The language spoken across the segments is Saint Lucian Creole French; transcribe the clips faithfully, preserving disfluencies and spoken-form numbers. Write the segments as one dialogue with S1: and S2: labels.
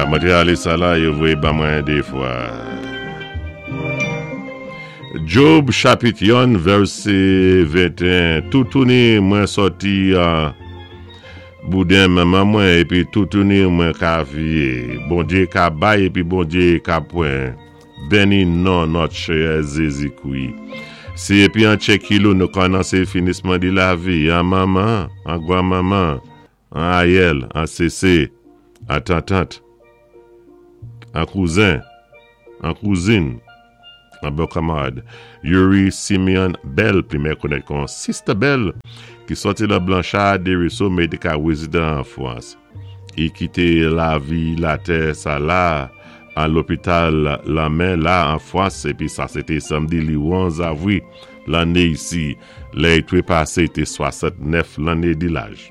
S1: Mwen té alé sa la, yo voyé ban mwen dé fwa. Job chapit youn, vèsé venteyen. Toutouni mwen sòti an bouden manman mwen, épi toutouni mwen ka viwé. Bondyé ka bay, épi Bondyé ka pwan. Béni non nòt Séyè Jézi-Kwi. Si épi an tchékilou nou ka anonsé finisman di lavi, an manman, an gwan-manman, an ayèl, an sésé, an tantant, an kouzen, an kouzin, an bon kanmarad. Yuri Simeon Bell, pli meyè konnèt kon Sister Bell, ki sòti lan Blanchard Desruisseaux, mé té ka wézidan an Fwans. I kité lavi latè sa la, an lopital Lanmè la an Fwans, épi sa sé té samdi li onz avwi lanné isi, lè i twépasé té swasant-nèf lanné di laj.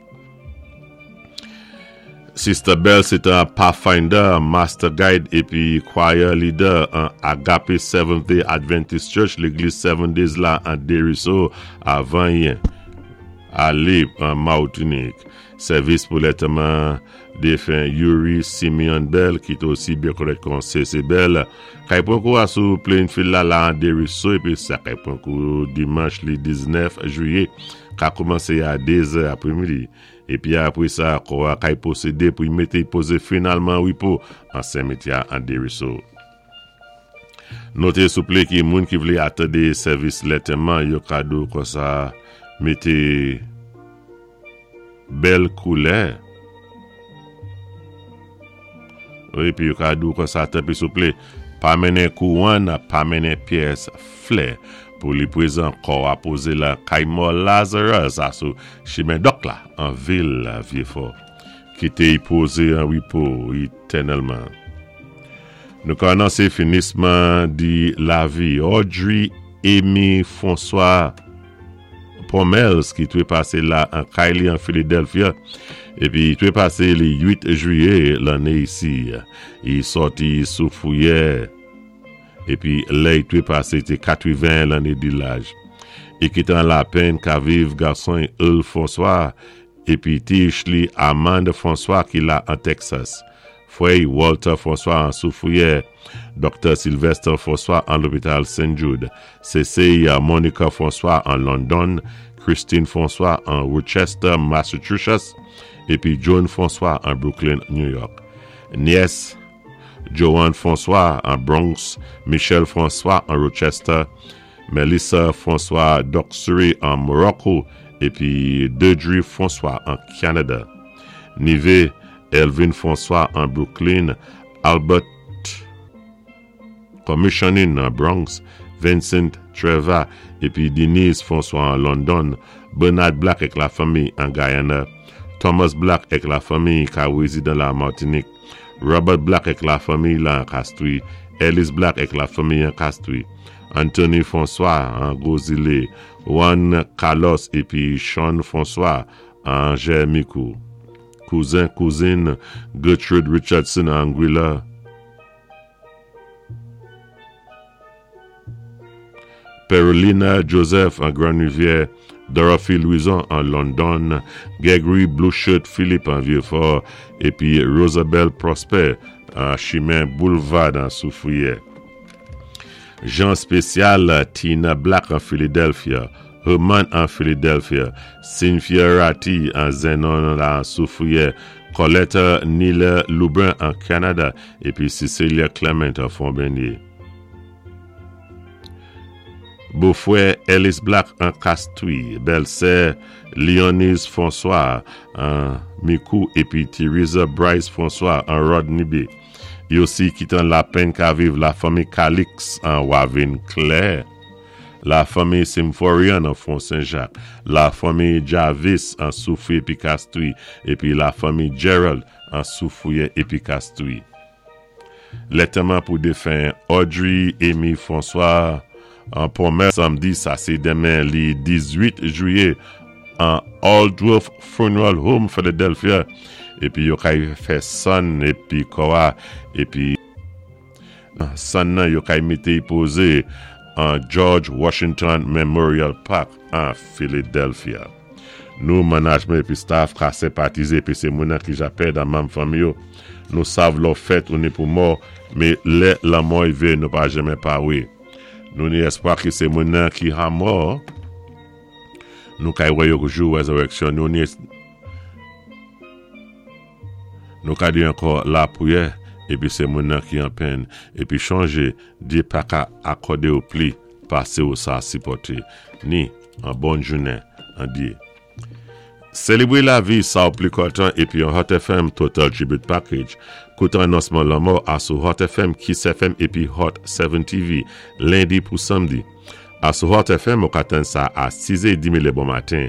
S1: Sister Bell sé té an Pathfinder, Master Guide épi Choir Leader an Agape Seventh Day Adventist Church, légliz Seven Days la an Desruisseaux avan i alé an Martinik. Sèvis pou lantèman défen Yuri Simeon Bell, ki té osi byen konnèt kon C C Bell, kay pwan kou a sou Plainfield la la an Desruisseaux, épi sa kay pwan kou dimanch li diznèf jwiyé, ka koumansé a dé zè apwémidi. Épi apwé sa, kò a kay pwosédé pou y mété pozé finalman wipo an simityè an Desruisseaux. Noté souplé ki moun ki vlé atandé sèvis lantèman yo ka dou konsa mété bèl koulè. Wi, épi yo ka dou konsa tanpwi souplé, pa mennen kouwòn, pa mennen pyès flè pou li pwézan kò a pozé la kay mò Lazarus a sou chimen dòk la an vil Vieux-Fort. Kité y pozé an wipo étènèlman. Nou ka anonsé finisman di lavi Audrey Amy François Pomels ki twépasé la an kay li an Philadelphia épi twépasé li uit jwiyé lanné isi. I sòti Soufrière épi lè i twépasé té katwiven lanné di laj. I kitan lapenn ka viv gason Earl François épi tich li Amanda François ki la an Texas. Fwè Walter François an Soufrière, Doktè Sylvester François an lopital Saint Jude, C C Monica François an London, Christine François an Worcester, Massachusetts, épi John François an Brooklyn, New York. Niès Joanne François an Bronx, Michel François an Rochester, Melissa François Doxury an Morocco, épi Deirdre François an Canada. Nivé Elvin François an Brooklyn, Albert Commissioning an Bronx, Vincent Trevor épi Denise François an London, Bernard Black ek la fanmi an Guyana, Thomas Black ek la fanmi ka wézidan la Martinique, Robert Black ek la fanmi la an Castries, Ellis Black ek la fanmi an Castries, Anthony François an Gros-Islet, Juan Carlos épi Sean François an Jermikou. Kouzen, kouzin Gertrude Richardson an Anguilla, Perolina Joseph an Grand Rivière, Dorothy Louison an London, Gregory Blueshirt Philippe an Vieux-Fort, épi Rosabelle Prosper an Chimen Boulevard an Soufrière. Jean Spécial, Tina Black an Philadelphia, Herman an Philadelphia, Cynthia Ratti an Zenon an Soufrière, Colette Nila Loubrun an Canada, épi Cecilia Clement an Fond-Bernier. Bofwè Ellis Black an Castries, bèlsè Leonise François an Micoud épi Theresa Bryce François an Rodney Bay. I osi kitan lapenn ka viv la fanmi Calix an Wavin Claire, la fanmi Symphorian an Fond Saint-Jacques, la fanmi Jarvis an Soufrière épi Castries, épi la fanmi Gerald an Soufrière épi Castries. Lantèman pou défen Audrey Amy François an pwomè samdi sa sé denmen li dizuit jwiyé an Aldworth Funeral Home Philadelphia épi yo kay fè sann épi kò a épi sann nan yo kay mété pozé an George Washington Memorial Park an Philadelphia. Nou, manajman épi staff, ka senpatizé épi sé moun-nan ki ja pèd an manm fanmi yo. Nou sav lò fèt ou ni pou mò, mé lè lanmò yivé nou pa janmen pawé. Nou ni èspwa ki sé moun-nan ki an mò, nou kay wè yo jou wézéwéksyon. Nou ni nou ka di ankò lapriyè épi sé moun-nan ki an pèn. Épi chonjé, Dye pa ka akòdé ou pli pasé ou sa sipòté. Ni an bon jounen an Dye. Sélébré lavi sa ou pli kontan épi an Hot F M Total Tribute Package. Kouté anonsman lanmò a sou Hot F M, Kiss F M épi Hot sèt T V, lendi pou samdi. A sou Hot F M, ou ka tann sa a sis è edmi lé bon maten.